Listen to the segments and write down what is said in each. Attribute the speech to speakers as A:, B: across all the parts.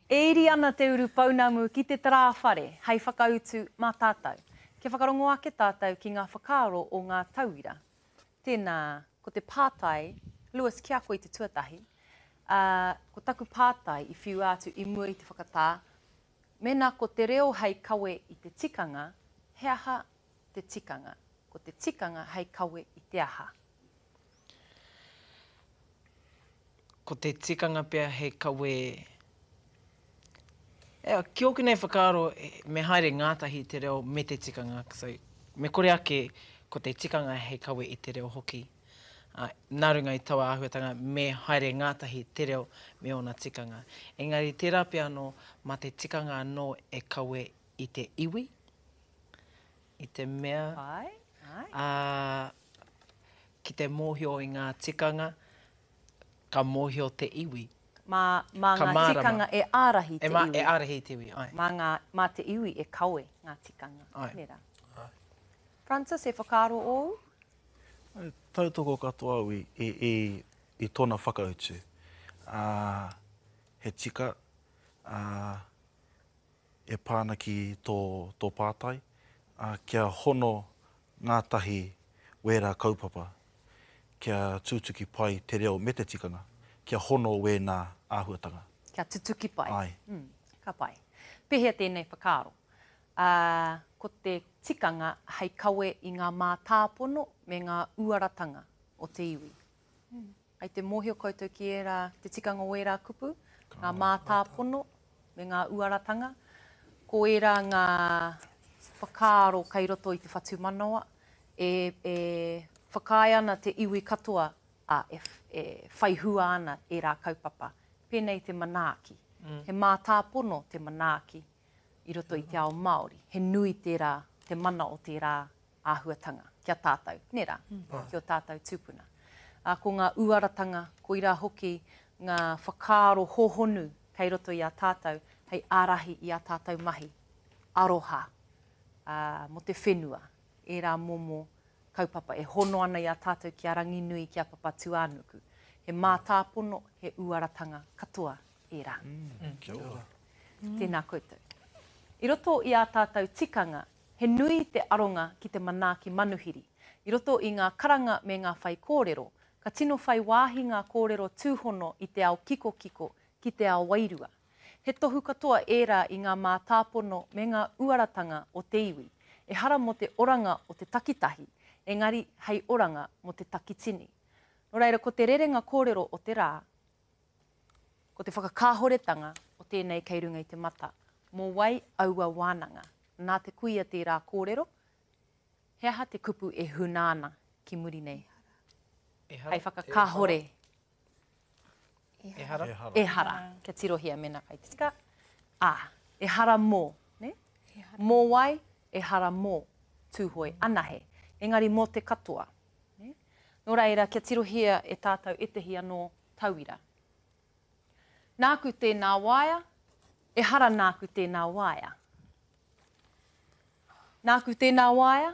A: E iri ana te urupounamu ki te tarāwhare hei whakautu mā tātou. Kia whakarongo ake tātou ki ngā whakaaro o ngā tauira. Tēnā, ko te pātai, Lewis, ki a koe i te tuatahi, ā, ko taku pātai i whiua atu i mua i te whakatā, mēnā ko te reo hei kawe i te tikanga, he aha te tikanga? Ko te tikanga hei kawe i te aha?
B: Ko te tikanga pea he kawe, e, ki ōku nei whakaaro, me haere ngātahi te reo me te tikanga, so, me kore ake ko te tikanga hei kawe i te reo hoki. Ā, nā runga i taua āhuatanga me haere ngātahi te reo me ōna tikanga. Engari tērā pea anō, mā te tikanga anō e kawe i te iwi, i te mea, ā, ki te mōhio i ngā tikanga, ka mōhio te iwi.
A: Mā, mā ngā tikanga e ārahi te iwi.
B: E ārahi te iwi, āe.
A: Mā ngā, mā te iwi e kawe ngā tikanga.
B: Āe.
A: Nē rā. Āe. Francis, he whakaaro ōu?
C: I tautoko katoa au i, i, i, i tōna whakautu. Ā, he tika, ā, e pā ana ki tō, tō pātai, ā, kia hono ngātahi wērā kaupapa, kia tutuki pai te reo me te tikanga, kia hono wēnā āhuatanga.
A: Kia tutuki pai.
C: Āe.
A: Mm, ka pai. Pēhea tēnei whakaaro? Ā, ko te tikanga hei kawe i ngā mātāpono me ngā uaratanga o te iwi. Kei te mōhio koutou ki ērā, te tikanga o ērā kupu, ngā mātāpono me ngā uaratanga. Ko ērā ngā whakaaro kei roto i te whatumanawa e, e whakaae ana te iwi katoa, ā, e, e whai hua ana ērā kaupapa. Pēnei te manaaki. He mātāpono te manaaki i roto i te ao Māori. He nui tērā, te mana o tērā āhuatanga ki a tātou, nē rā, ki ō tātou tūpuna. Ā, ko ngā uaratanga, koirā hoki ngā whakaaro hōhonu kei roto i a tātou hei ārahi i ā tātou mahi aroha, ā, mō te whenua, ērā momo kaupapa e hono ana i a tātou ki a Ranginui, ki a Papatūānuku. He mātāpono, he uaratanga katoa ērā.
C: Kia ora.
A: Tēnā koutou. I roto i ā tātou tikanga, He nui te aronga ki te manaaki manuhiri. I roto i ngā karanga me ngā whaikōrero, ka tino whai wāhi ngā kōrero tūhono i te ao kikokiko ki te ao wairua. He tohu katoa ērā i ngā mātāpono me ngā uaratanga o te iwi, ehara mō te oranga o te takitahi, engari hei oranga mō te takitini. Nō reira, ko te rerenga kōrero o te rā, Ko te whakakāhoretanga o tēnei kei runga i te mata. Mō wai aua wānanga? Nā te kuia tērā kōrero, he aha te kupu e huna ana ki muri nei? Hei whakakāhore.
B: Ehara.
A: Ehara. Kia tirohia mēnā kei te tika. Ā, ehara mō, nē? Mō wai? Ehara mō Tūhoe anahe. Engari mō te katoa. Nē? Nō reira, kia tirohia e tātou ētehi anō tauira. Nāku tēnā waea, ehara nāku tēnā waea. Nāku tēnā waea,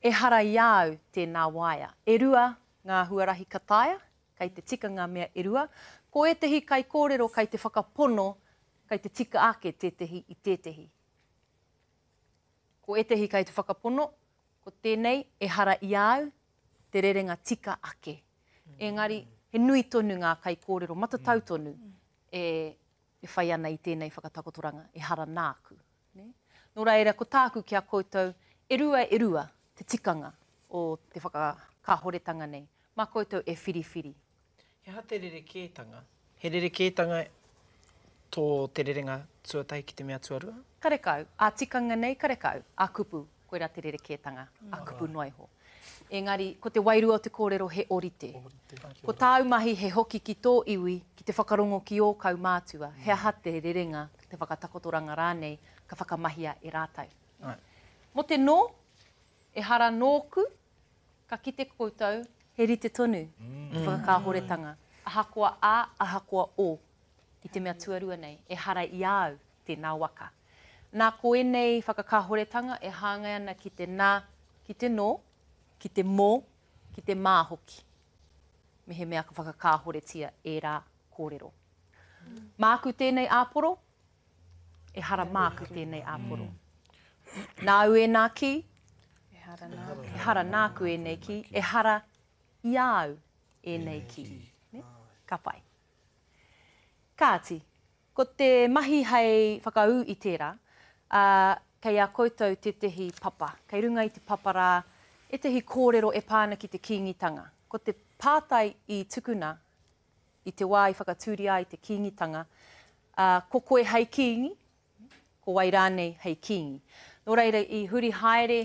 A: ehara i a au tēnā waea. E rua ngā huarahi ka taea, kei te tika ngā mea e rua. Ko ētehi kaikōrero kei te whakapono kei te tika ake tētehi i tētehi. Ko ētehi kei te whakapono, ko tēnei ehara i a au te rerenga tika ake. Engari, he nui tonu ngā kaikōrero matatau tonu e, e whai ana i tēnei whakatakotoranga, ehara nāku. Nē? Nō reira, ko tāku ki a koutou, e rua e rua te tikanga o te whakakāhoretanga nei. Mā koutou e whiriwhiri.
B: He aha te rerekētanga? He rerekētanga tō te rerenga tuatahi ki te mea tuarua?
A: Karekau, ā-tikanga nei karekau, ā-kupu, koirā te rerekētanga, ā-kupu noa iho. Engari, ko te wairua o te kōrero he ōrite. Ko tāu mahi he hoki ki tō iwi, ki te whakarongo ki ō kaumātua, he aha te rerenga, te whakatakotoranga rānei ka whakamahia e rātou. Mō te nō, ehara nōku, Ka kite koutou, he rite tonu te whakakāhoretanga, ahakoa a, ahakoa o, i te mea tuarua nei, ehara i a au tēnā waka. Nā, ko ēnei whakakāhoretanga e hāngai ana ki te nā, ki te nō, ki te mō, ki te mā hoki, mehemea ka whakakāhoretia ērā kōrero. Māku tēnei āporo? Ehara māku tēnei āporo. Nāu ēnā kī?
D: Ehara nāku.
A: Ehara nāku ēnei kī. Ehara i a au ēnei kī. Ka pai. Kāti, ko te mahi hei whakaū i tērā, ā, kei a koutou tētehi papa. Kei runga i te papa rā ētehi kōrero e pā ana ki te Kīngitanga. Ko te pātai i tukuna i te wā i whakatūria ai te Kīngitanga, ā, ko koe hei kīngi, ko wai rānei hei kīngi. Nō reira, i huri haere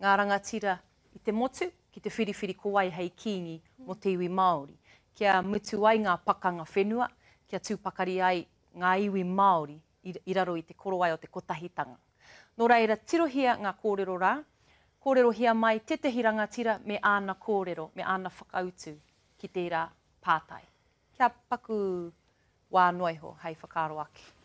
A: ngā rangatira i te motu ki te whiriwhiri ko wai hei kīngi mō te iwi Māori, kia mutu ai ngā pakanga whenua, kia tū pakari ai ngā iwi Māori i raro i te korowai o te kotahitanga. Nō reira, tirohia ngā kōrero rā, kōrerohia mai tētehi rangatira me āna kōrero, me āna whakautu ki tērā pātai. Kia paku wā noa iho hei whakaaro ake.